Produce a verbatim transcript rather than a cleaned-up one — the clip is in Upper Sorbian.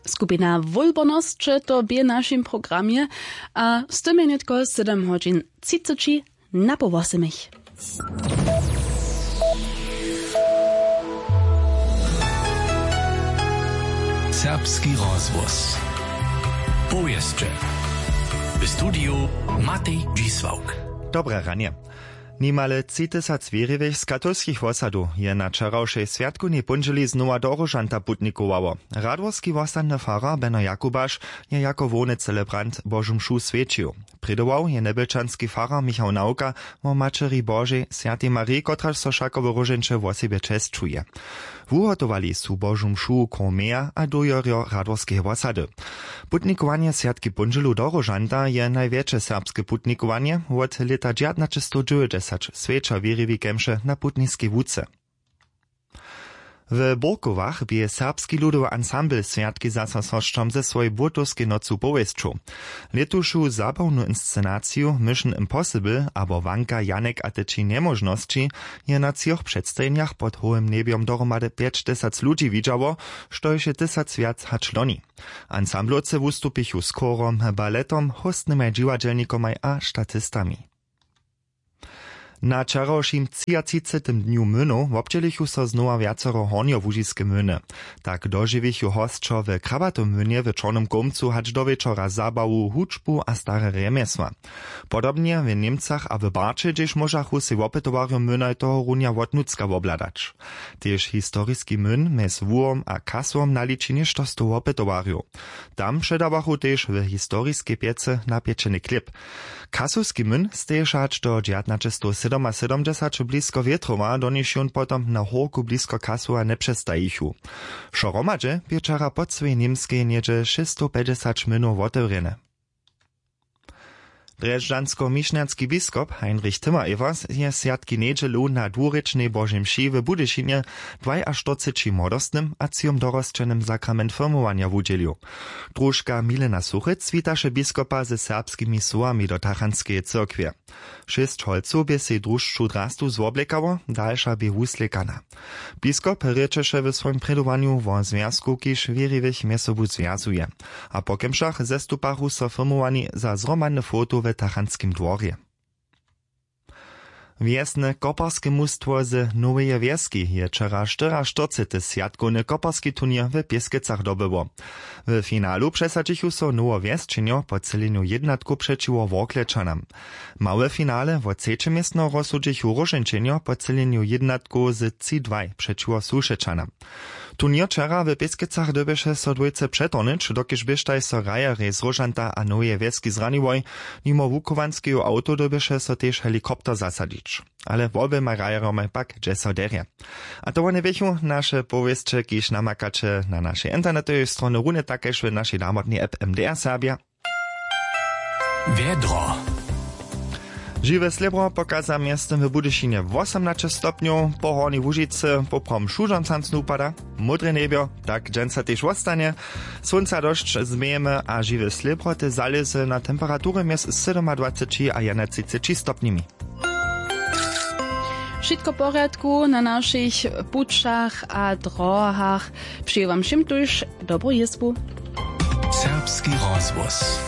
Skupina wólbornosće to bě w našim programje, a z tym je nětko sedem hodźin třiceći na poł wosymich. Serbski rozhłos. Powěsće. W studiju Matej Dźisławk. Dobre ranje. Nimale tři tysac wěriwych z katolskich wosadow je na wčerawšej swjatkownej póndźěli znowa do Róžanta putnikowało. Radworski wosadny farar Beno Jakubaš je jako hłowny celebrant Božu mšu swjećił. Prědował je njebjelčanski farar Michał Nawka wo Maćeri Božej, swjatej Mariji, kotraž so wšako w Róžeńće wosebje česćuje. Wuhotowali su Božu mšu chór Meja a dójerjo Radworskeje wosady. Putnikowanje swjatki póndźělu do Róžanta je najwjetše serbske putnikowanje wot lěta dźewjatnaćestowdźewjećdźesać, swjeća wěriwi kemše na putniskej łuce. W Burkowach bě serbski ludowy ansambl swjatki zasosnosćom ze swojej burtowskej nocu powěsćow. Lětušu zabawnu inscenaciju Mission Impossible abo Wanka Janek a te tři njemóžnosći je na třoch předstajenjach pod hołym njebjom dohromady pjećtysac ludźi widźało, štož je tysac wjac hač loni. Ansamblowce wustupichu z chórom, baletom, hóstnymaj dźiwadźelnikomaj a statistami. Na wčerawšim třiatřicetym dnju młynow wobdźělichu so znowa wjacero hornjołužiske młyny. Tak dožiwichu hosćo w Krabatom młynje w Čornym Kołmcu hač do wječora zabawu, hudźbu a stare rjemjesła. Podobnje w Němcach a w Barće, hdźež móžachu sej wopytowarjo młynaj tohorunja wotnutřka wobhladać. Tež historiski młyn mjez Wuhom a Kasłom naliči něšto stow wopytowarjow. Tam předawachu tež w historiskej pjecy napječeny chlěb. Kasowski młyn steješe hač do dźewjatnaćestowsydomasydomdźesać blisko Wětrowa, do nichž jón potom na hórku blisko Kasowa njepřestajichu. Wšo hromadźe bě wčera po cyłej Němskej něhdźe šěsćstowpjećdźesać młynow wotewrjene. Drježdźansko-mišnjanski biskop Heinrich Timmer-Evers je swjatki njedźelu na dwurěčnej Božej mši w Budyšinje dwajaštyrceći młodostnym a třijom dorosćenym sakrament firmowanja wudźělił. Družka Milena Suchec witaše biskopa ze serbskimi słowami do tachantskeje cyrkwje. Šěsć holcow bě sej družcu drastu zwoblekało, dalša bě wuslěkana. Biskop rěčeše w swojim prědowanju wo zwjazku, kiž wěriwych mjez sobu zwjazuje. A po kemšach zestupachu so firmowani za zhromadne foto w tachantskim dworje. Wjesne koparske mustwo z Noweje Wjeski je wčera štyriaštyrcety swjatkowny koparski turněr w Pěskecach dobyło. W finalu přesadźichu so Nowowjesčenjo po třělenju jědnatkow přećiwo Worklečanam. Małe finale wo třeće městno rozsudźichu Róžeńčenjo po třělenju jědnatkow z tři dwaj přećiwo Sušečanam. Turněr wčera w Pěskecach dyrbješe so dwójce přetohnyć, dokelž běštaj so hrajerjej z Róžanta a Noweje Wjeski zraniłoj. Nimo wuchowanskeju awtow dyrbješe so tež helikopter zasadźić. Ale woběmaj hrajerjomaj pak dźe so derje. A to wone běchu naše powěsće, kiž namakaće na našej internetowej stronje, runje tak kaž w našej namotnej app M D R Serbja. Wjedro. Žiwe slěbro pokaza mjeztym w Budyšinje wosomnaće stopnjow, po Hornjej Łužicy poprawom šudźomcancnu pada. Módre njebjo tak dźensa tež wostanje. Słónca dosć změjemy a žiwe slěbro tež zalěze na temperatury mjez sydomadwaceći a jedenatřiceći stopnjemi. Wšitko w porjadku na našich pućach a drohach. Přeju wam wšěm tuž dobru jězbu. Serbski rozhłos.